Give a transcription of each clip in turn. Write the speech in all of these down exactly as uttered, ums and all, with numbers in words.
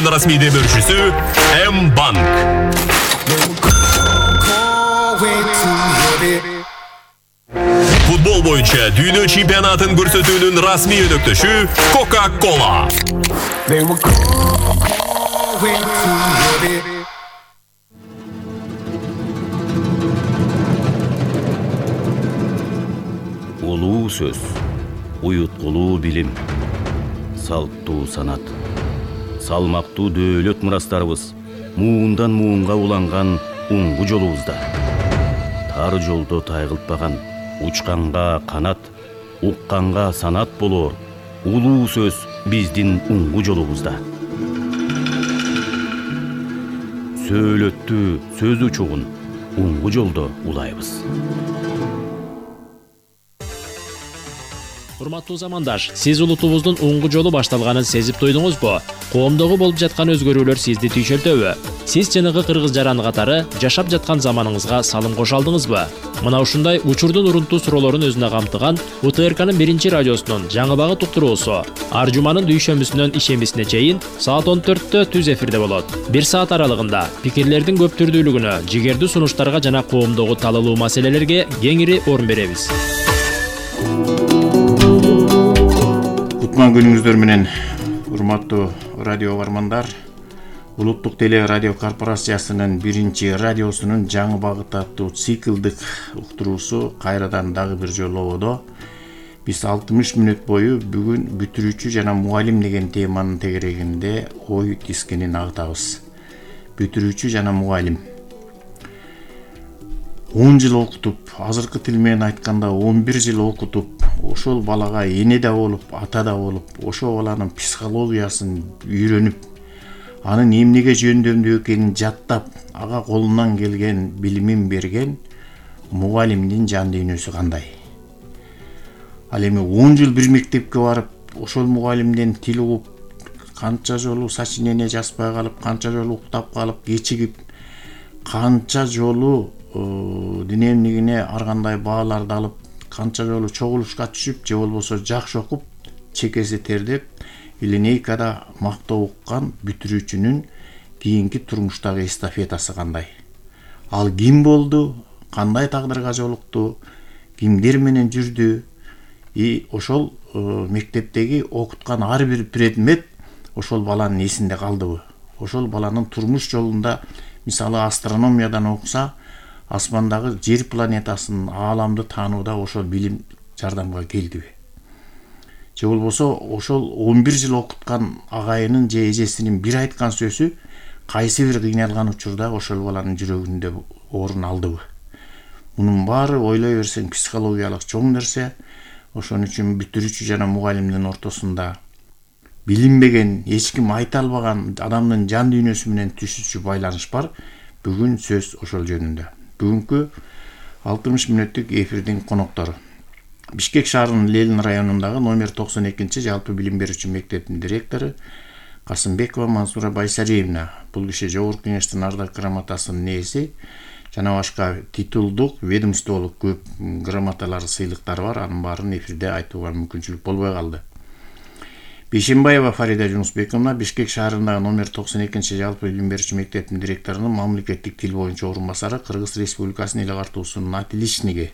Расмий демөөрчүсү М-банк. Футбол боюнча дүйнө чемпионатын көрсөтүүнүн расмий өнөктөшү Coca-Cola. Улуу сөз, уюткулуу билим, салттуу санат, салмактуу дөөлөт мурастарыбыз муундан муунга уланган уңгу жолубузда. Тар жолдо тайгылтпаган, учканга канат, укканга санат болоор улуу сөз биздин уңгу жолубузда. Сөөлөттү сөз учугун уңгу жолдо улайбыз. Урматтуу замандаш, сиз улутубуздун уңгу жолу башталганын сезип туйдуңузбу? Коомдогу болуп жаткан өзгөрүүлөр сизди түйшөлтөбү? Сиз жанагы кыргыз жараны катары жашап жаткан заманыңызга салым кошо алдыңызбы? Мына ушундай учурдун урунтуу суроолорун өзүнө камтыган У Т Р К'нын биринчи радиосунун жаңы багыт уктуруусу ар жуманын дүйшөмбүсүнөн ишембисине чейин саат он төрттө түз эфирде болот. Бир саат аралыгында пикирлердин көп түрдүүлүгүнө, жигердүү сунуштарга жана коомдогу талалуу маселелерге кеңири орун беребиз. Кутман күнүңүздөр менен, урматтуу радио бармандар. Улуттук теле радио корпорациясынын биринчи радиосунун жаңы багыт аттуу циклдык уктуруусу кайрадан дагы бир жолу ободо. Биз алтымыш мүнөт бою бүгүн бүтүрүүчү жана мугалим деген теманын тегерегинде ой тискенин агытабыз. Бүтүрүүчү жана мугалим. он жыл окутуп, азыркы тил менен айтканда он бир жыл окутуп, ошол балага эне да болуп, ата да болуп, ошол баланын психологиясын үйрөнүп, анын эмнеге жөндөмдүү экенин жаттап, ага колунан келген билимин берген мугалимдин жан дүйнөсү кандай? Ал эми он жыл бир мектепке барып, ошол мугалимден тил угуп, канча жолу сочинение жазбай калып, канча жолу уктап калып, кечигип, канча жолу динемдигине ар кандай бааларды алып, канча жолу чогулушка түшүп, же болбосо жакшы окуп, чекеси тердеп, линейкада мактоо уккан бүтүрүүчүнүн кийинки турмуштагы эстафетасы кандай? Ал ким болду? Кандай тагдырга жолукту? Кимдер менен жүрдү? И ошол мектептеги окуткан ар бир предмет ошол баланын эсинде калдыбы? Ошол баланын турмуш жолунда, мисалы астрономиядан окуса, асмандагы жер планетасын, ааламды таанууда ошол билим жардамга келдиби? Же болбосо ошол он бир жыл окуткан агайынын же эжесинин бир айткан сөзү кайсы бир кыйналган учурда ошол баланын жүрөгүндө орун алдыбы? Мунун баары ойлой берсең психологиялык чоң нерсе. Ошон үчүн бүтүрүүчү жана мугалимдин ортосунда билинбеген, эч ким айта албаган адамдын жан дүйнөсү менен түшүчү байланыш бар. Бүгүн сөз ошол жөнүндө. Бүгүнкү алтымыш мүнөттүк эфирдин коноктору Бишкек шаарынын Ленин районундагы номер токсон экинчи жалпы билим берүүчү мектептин директору Касымбекова Мансура Байсариевна. Бул киши Жогорку Кеңештин ардак грамотасынын ээси жана башка титулдук, ведомстволук көп грамоталар, сыйлыктары бар. Анын баарын эфирде айтууга мүмкүнчүлүк болбой калды. Бейшембаева Фарида Жунусбековна Бишкек шаарындагы номер токсон экинчи жалпы билим берүүчү мектептин директорунун мамлекеттик тил боюнча орун басары, Кыргыз Республикасынын эл агартуусунун отличниги.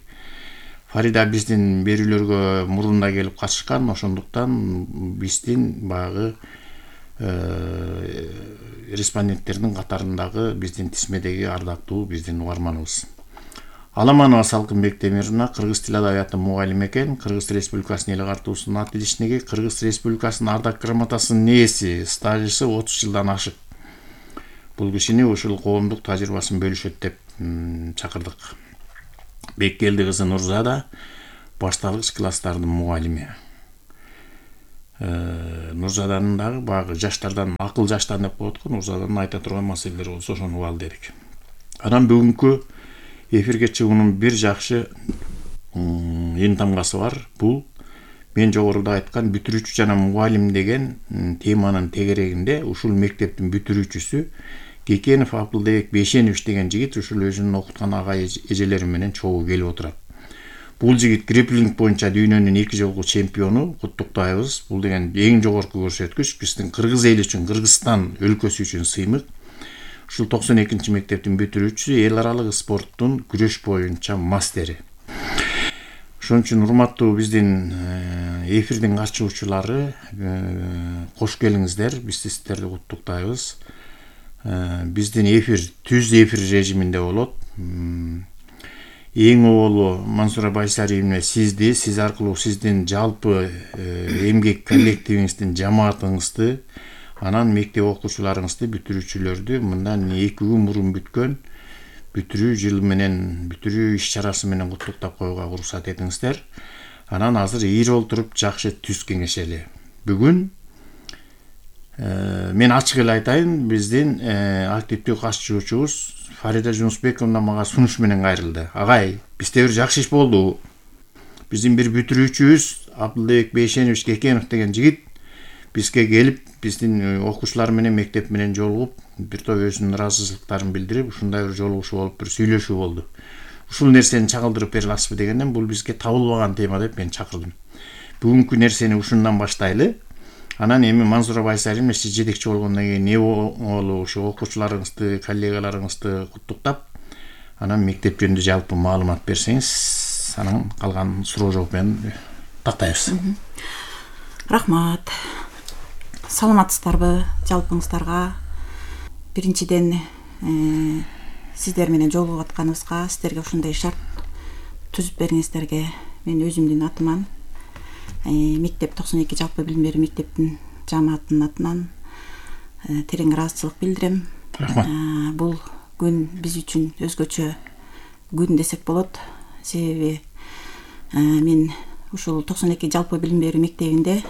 Фарида биздин берүүлөргө мурун да келип катышкан, ошондуктан биздин багы респонденттердин катарындагы биздин тизмедеги ардактуу биздин угарманыбыз. Аламанова Салкынбек Темировна кыргыз тил адабияты мугалими экен, Кыргыз Республикасынын эл агартуусунун отличниги, Кыргыз Республикасынын ардак грамотасынын ээси, стажысы отуз жылдан ашык. Бул кишини ушул коомдук тажрыйбасын бөлүшөт деп чакырдык. Беккелди кызы Нурзада башталгыч класстардын мугалими. Нурзаданын дагы багы жаштардан, акыл жаштан деп коет го, Нурзаданын айта турган маселелери болсо ошону угалы дедик. Анан бүгүнкү эфирге чыгуунун бир жакшы эң тамгасы бар. Бул мен жогоруда айткан бүтүрүүчү жана мугалим деген теманын тегерегинде ушул мектептин бүтүрүүчүсү Кекенов Апылбек Бейшенович деген жигит ушул өзүнүн окуткан агай эжелери менен чогуу келип отурат. бул жигит греплинг боюнча дүйнөнүн эки жолку чемпиону, куттуктайбыз. Бул деген эң жогорку көрсөткүч. Биздин кыргыз эли үчүн, Кыргызстан өлкөсү үчүн сыймык. Ушул токсон экинчи мектептин бүтүрүүчүсү, эл аралык спорттун күрөш боюнча мастери. Ошон үчүн урматтуу биздин эфирдин катышуучулары, кош келиңиздер. Биз сиздерди куттуктайбыз. Биздин эфир түз эфир режиминде болот. Эң оболу Мансура Байсариевна сизди, сиз аркылуу сиздин жалпы эмгек коллективиңиздин, жамаатыңызды, анан мектеп окуучуларыңызды, бүтүрүүчүлөрдү мындан эки күн мурун бүткөн бүтүрүү жылы менен, бүтүрүү иш чарасы менен куттуктап коюуга уруксат этиңиздер. Анан азыр ийри олтуруп жакшы түз кеңешели. Бүгүн мен ачык эле айтайын, биздин активдүү катышуучубуз Фарида Жунусбековна мага сунуш менен кайрылды. Агай, бизде бир жакшы иш болду. Биздин бир бүтүрүүчүбүз Абдылбек Бейшенович Кекенов деген жигит бизге келип, биздин окуучулар менен, мектеп менен жолугуп, бир топ өзүнүн ыраазычылыктарын билдирип, ушундай бир жолугушуу болуп, бир сүйлөшүү болду. Ушул нерсени чагылдырып бере аласызбы дегенден, бул бизге табылбаган тема деп мен чакырдым. Бүгүнкү нерсени ушундан баштайлы. Анан эми Мансура Байсариевна сиз жетекчи болгондон кийин не болу ушу окуучуларыңызды, коллегаларыңызды куттуктап, анан мектеп жөнүндө жалпы маалымат берсеңиз, анан калган суроо жооп менен тактайбыз. Рахмат. Саламатсыздарбы жалпыңыздарга? Биринчиден сиздер менен жолугуп атканыбызга, сиздерге ушундай шарт түзүп бергениңиздерге мен өзүмдүн атыман, мектеп токсон эки жалпы билим берүү мектептин жамаатынын атынан терең ыраазычылык билдирем. Рахмат. Бул күн биз үчүн өзгөчө күн десек болот. Себеби мен ушул токсон эки жалпы билим берүү мектебинде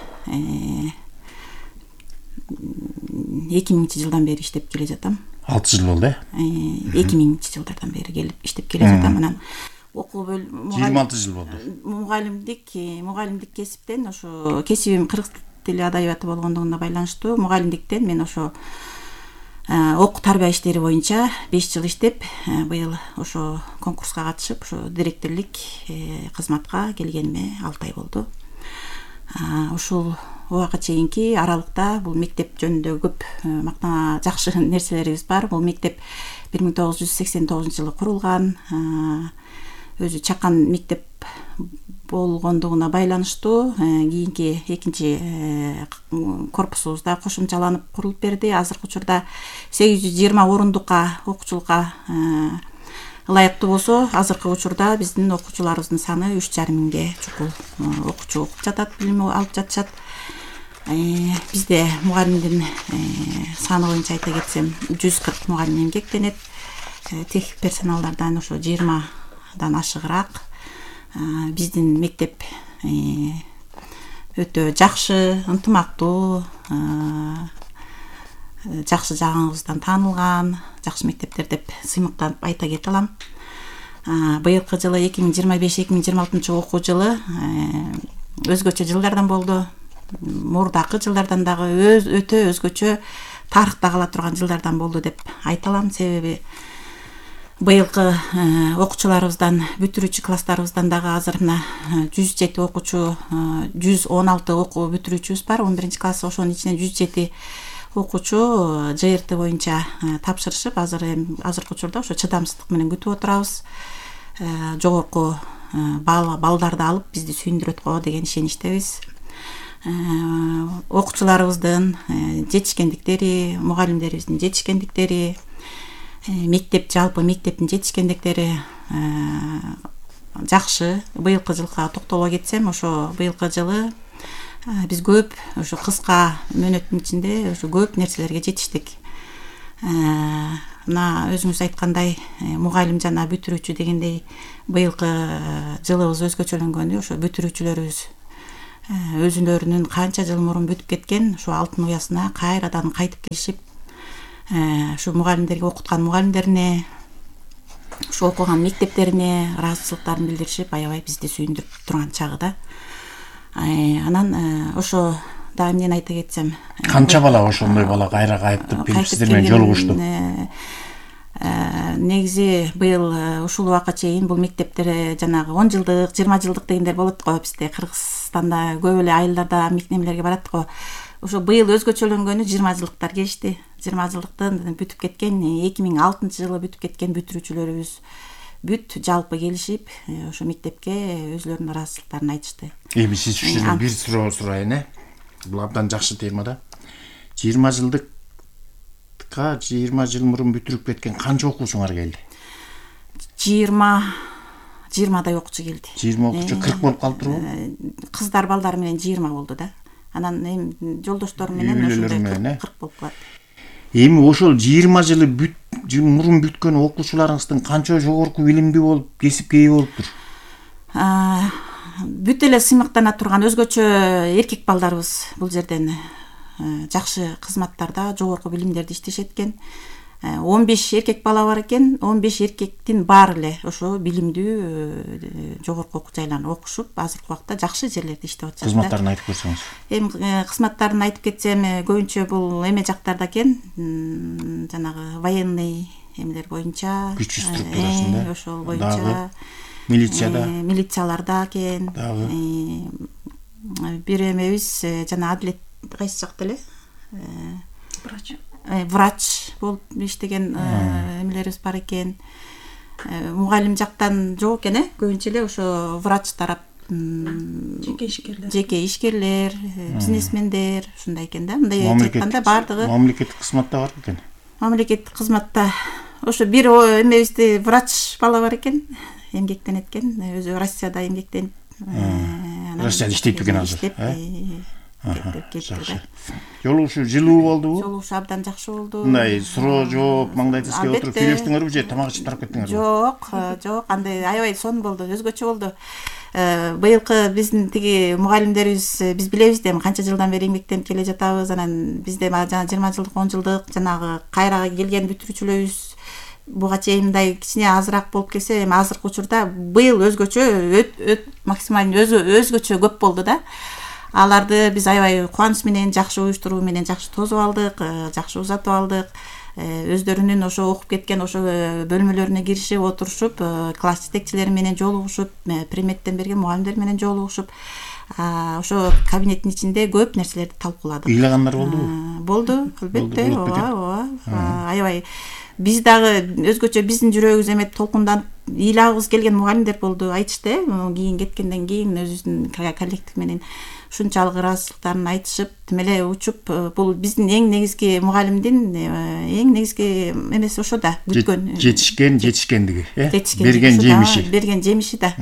эки миңинчи жылдан бери иштеп келе жатам. алты жыл болду, э? эки миңинчи жылдардан бери келип иштеп келе жатам. Анан окуу бөлүм жыйырма алты жыл болду. Мугалимдик, мугалимдик кесиптен ошо кесибим кыргыз тили адабияты болгондугуна байланыштуу мугалимдиктен мен ошо окуу тарбия иштери боюнча беш жыл иштеп, быйыл ошо конкурска катышып, ошо директорлук кызматка келгениме алты ай болду. Ушул убакка чейинки аралыкта бул мектеп жөнүндө көп мактана жакшы нерселерибиз бар. Бул мектеп бир миң тогуз жүз сексен тогузунчу жылы курулган. Өзү чакан мектеп болгондугуна байланыштуу кийинки экинчи корпусубузда кошумчаланып курулуп берди. Азыркы учурда сегиз жүз жыйырма орундукка окуучулукка ылайыктуу болсо, азыркы учурда биздин окуучуларыбыздын саны үч жарым миңге чукул окуучу окуп жатат, билим алып жатышат. Бизде мугалимдин саны боюнча айта кетсем, жүз кырк мугалим эмгектенет. Техник персоналдардан ошо жыйырмадан ашыгыраак. Биздин мектеп өтө жакшы, ынтымактуу, жакшы жагыбыздан таанылган, жакшы мектептер деп сыймыктанып айта кете алам. Быйылкы жылы эки миң жыйырма беш эки миң жыйырма алтынчы окуу жылы өзгөчө жылдардан болду. Мурдакы жылдардан дагы өтө өзгөчө тарыхта кала турган жылдардан болду деп айта алам. Себеби быйылкы окуучуларыбыздан, бүтүрүүчү класстарыбыздан дагы азыр мына жүз жети окуучу, жүз он алты окуу бүтүрүүчүбүз бар. он биринчи класс, ошонун ичинен жүз жети окуучу жэ эр тэ боюнча тапшырышып, азыр эми азыркы учурда ошо чыдамсыздык менен күтүп отурабыз. Жогорку балдарды алып бизди сүйүндүрөт го деген ишеничтебиз. Окуучуларыбыздын жетишкендиктери, мугалимдерибиздин жетишкендиктери, мектеп жалпы мектептин жетишкендиктери жакшы. Быйылкы жылга токтоло кетсем, ошо быйылкы жылы биз көп ошо кыска мөөнөттүн ичинде ошо көп нерселерге жетиштик. Мына өзүңүз айткандай, мугалим жана бүтүрүүчү дегендей быйылкы жылыбыз өзгөчөлөнгөнү ошо бүтүрүүчүлөрүбүз өзүлөрүнүн канча жыл мурун бүтүп кеткен ошо алтын уясына кайрадан кайтып келишип, ушу мугалимдерге, окуткан мугалимдерине, ушу окуган мектептерине ыраазычылыктарын билдиришип, аябай бизди сүйүндүрүп турган чагы да. Анан ошо да эмнени айта кетсем, канча бала ошондой бала кайра кайтып келип сиздер менен жолугушту? негизи быйыл ушул убакка чейин бул мектептер жанагы он жылдык жыйырма жылдык дегендер болот го, бизде Кыргызстанда көп эле айылдарда мектептерге барат го. Ошо быйыл өзгөчөлөнгөнү жыйырма жылдыктар келишти. жыйырма жылдыктан бүтүп кеткен, эки миң алтынчы жылы бүтүп кеткен бүтүрүүчүлөрүбүз бүт жалпы келишип ошо мектепке өзүлөрүнүн ыраазычылыктарын айтышты. Эми сиз үчүн бир суроо сурайын, э? Бул абдан жакшы тема да. жыйырма жылдыкка жыйырма жыл мурун бүтүрүп кеткен канча окуучуңар келди? жыйырма жыйырмадай окуучу келди. жыйырма окуучу кырк болуп калыптырбы? Кыздар балдар менен жыйырма болду да. Анан эми жолдошторум менен ошондой кырк болуп калат. Эми ошол жыйырма жылы бүт мурун бүткөн окуучуларыңыздын канча жогорку билимдүү болуп, кесипке ээ болуптур? Бүт эле сыймыктана турган өзгөчө эркек балдарыбыз бул жерден жакшы кызматтарда, жогорку билимдерди иштешет экен. он беш эркек бала бар экен. он беш эркектин баары эле ошо билимдүү жогорку окуу жайларда окушуп, азыркы убакта жакшы жерлерде иштеп атышат. Кызматтарын айтып көрсөңүз. Эми кызматтарын айтып кетсем, көбүнчө бул эме жактарда экен, жанагы военный эмелер боюнча, күч структурасында, ошол боюнча, милицияда, милицияларда экен. Бир эмебиз жана адилет кайсы жакта эле? Врач. Врач болуп иштеген эмелерибиз бар экен. Мугалим жактан жок экен, э? Көбүнчө эле ошо врач тарап, жеке ишкерлер, жеке ишкерлер, бизнесмендер ушундай экен да. Мындай айтканда бардыгы мамлекеттик кызматта бар экен. Мамлекеттик кызматта ошо бир эмебизде врач бала бар экен, эмгектенет экен, өзү Россияда эмгектенип, Россияда иштейт экен азыр, э? Жакшы. Жолугушуу жылуу болдубу? Жолугушуу абдан жакшы болду. Мындай суроо жооп маңдай тизге отуруп сүйлөштүңөрбү же тамак ичип тарап кеттиңерби? Жок, жок, андай аябай сонун болду, өзгөчө болду. Быйылкы биздин тиги мугалимдерибиз, биз билебиз да, канча жылдан бери эмгектенип келе жатабыз. Анан бизде жана жыйырма жылдык, он жылдык жанагы кайра келген бүтүрүүчүлөрүбүз буга чейин мындай кичине азыраак болуп келсе, эми азыркы учурда быйыл өзгөчө, максимально өзгөчө көп болду да. Аларды биз аябай кубаныч менен, жакшы уюштуруу менен жакшы тосуп алдык, жакшы узатып алдык. Өздөрүнүн ошо окуп кеткен ошо бөлмөлөрүнө киришип, отурушуп, класс жетекчилери менен жолугушуп, приметтен берген мугалимдер менен жолугушуп, ошо кабинеттин ичинде көп нерселерди талкууладык. Ыйлагандар болдубу? Болду, албетте, ооба, ооба. Аябай биз дагы өзгөчө биздин жүрөгүбүз эме толкунданып ыйлагыбыз келген мугалимдер болду, айтышты. Кийин кеткенден кийин өзүбүздүн коллектив менен ушунчалык ыраазычылыктарын айтышып, тим эле учуп, бул биздин эң негизги мугалимдин эң негизги эмеси ошо да, күткөн жетишкен жетишкендиги, э? Берген жемиши. Берген жемиши да.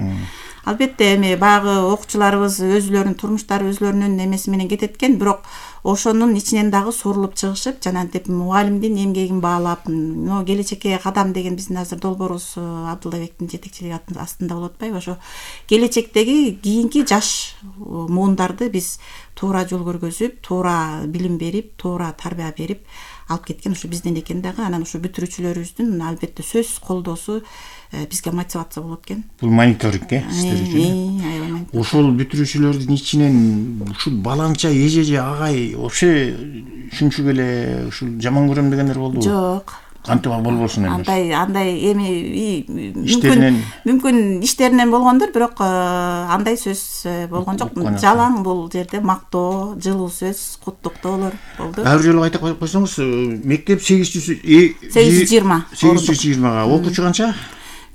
Албетте эми багы окуучуларыбыз өзүлөрүнүн турмуштары, өзүлөрүнүн эмеси менен кетет экен, бирок ошонун ичинен дагы сурулуп чыгышып, жанагынтип мугалимдин эмгегин баалап, но келечекке кадам деген биздин азыр долбоорубуз Абдуллабектин жетекчилиги астында болуп атпайбы? Ошо келечектеги кийинки жаш муундарды биз туура жол көргөзүп, туура билим берип, туура тарбия берип алып кеткен ошо бизден экен дагы. Анан ошо бүтүрүүчүлөрүбүздүн албетте сөзсүз колдоосу бизге мотивация болот экен. Бул мониторинг, э, сиздер үчүн. Ошол бүтүрүүчүлөрдүн ичинен ушул балаңча эже агай вообще шүнчүк эле ушул жаман көрөм дегендер болдубу? Жок. Кантип болбосун эми? Андай, андай эми мүмкүн мүмкүн иштеринен болгондур, бирок андай сөз болгон жок. Жалаң бул жерде мактоо, жылуу сөз, куттуктоолор болду. Ар жолу айта койсоңуз, мектеп сегиз жүз сегиз жүз жыйырма. сегиз жүз жыйырмага, окуучу канча?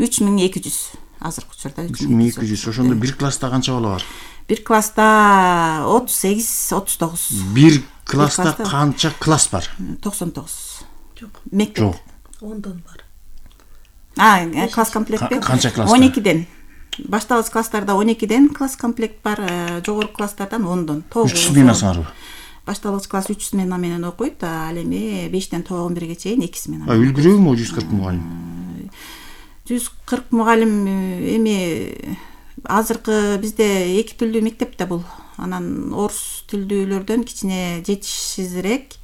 үч миң эки жүз. Азыркы учурда үч миң эки жүз. Ошондо бир класста канча бала бар? Бир класста отуз сегиз, отуз тогуз. Бир класста канча класс бар? токсон тогуз. Жок. Мектеп. Жок. ондон бар. А, класс комплектпи? Канча класс? он экиден. Башталгыч класстарда он экиден класс комплект бар, жогорку класстардан ондон. үч сменасыңарбы? Башталгыч класс үч смена менен окуйт, ал эми бештен он бирге чейин эки смена. А үлгүрөбү жүз кырк мугалим? жүз кырк мугалим эми азыркы бизде эки тилдүү мектеп да бул. Анан орус тилдүүлөрдөн кичине жетишсизирээк.